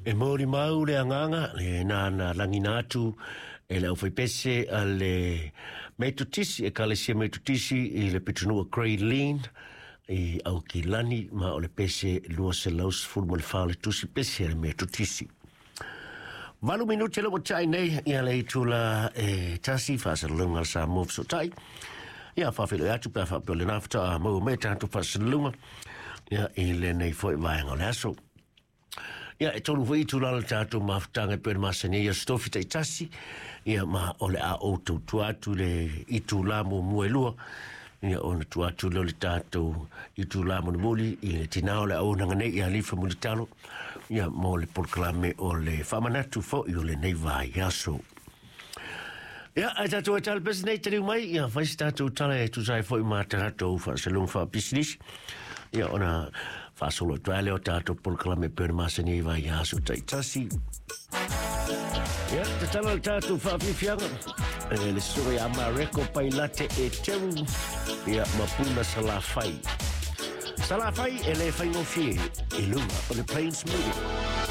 E molimau le agaga lena na lagina atu e le aufaipese a le Metotisi, Ekalesia Metotisi i le pitonuu Grey Lynn i Aukilani, ma o le pese 214 le tusi pese a le Metotisi. 8 minute le ua tai nei ia le itula e 1, faasalalauga a le Samoa Fesootai. Ia faafeiloai atu pe a faapea o lena faatoa maua mai tatou faasalalauga ia i lenei foi vaega o le aso. Ia e 3 foi itula o le tatou mafutaga e pei ona masani ai aso Tofi taitasi, ia ma o le a ou tautua atu le itula muamua e 2, ia ona tuu atu lea o le tatou itula mulimuli i le tinā o le auaunaga nei ia Alifa Mulitalo, ia mo le polokalame o le faamanatu foi o lenei vaiaso. Ia, ae tatou e tala pese nei taliu mai, ia fai se tatou tala e tusa ai foi ma tatou faasalalauga faapisinisi. Ia ona faasolo atu ai lea o tatou polokalame e pei ona masani ai vaiaso taitasi. Ia, tatala le tatou faafiafiaga e le susuga ia Mareko Pailate e Teru, ia ma Puna Salafai. Salafai e le faigofie i luga o le Plains Media.